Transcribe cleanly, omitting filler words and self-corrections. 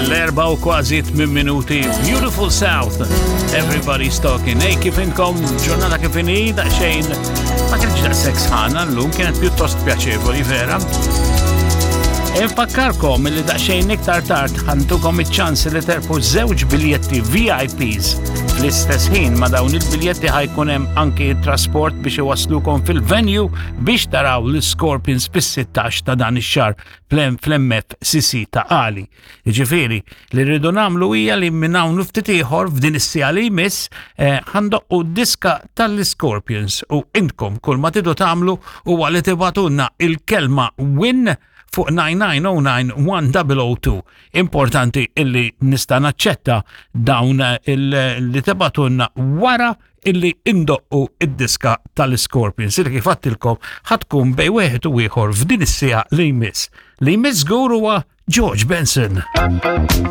L-erba u kważi 8 minuti. Beautiful South. Everybody's talking. Ej, kif inkom ġurnata kif inhi daqsxejn ma kienx daqshekk sħana llum, kienet pjuttost pjaċevoli vera. Infakkarkom li daqsxejn iktar tard ħantukom iċ-ċans li terpu żewġ biljetti VIPs. Fl-istess ħin ma dawn il-biljetti ħajkun hemm anki trasport biex iwaslukom fil-venue biex taraw l-Scorpions fis-16 ta' dan ix-xahar fl-MFCC ta' Qali. Jiġifieri, li rridu nagħmlu hija li minn hawn ftit ieħor f'din is-siegħa li jmiss eh, ħandoqqu diska tal-Scorpions u intkom kull ma tidu tagħmlu huwa li tibatulna il-kelma win fuq 9909-1002. Importanti illi nista' naċċetta dawn li tibatunna wara illi indoqqu id-diska tal-Scorpions illi kif għattilkom ħatkun bej wieħed u ieħor f'din is-siegħa li jmiss. Li jmiss żgur huwa George Benson.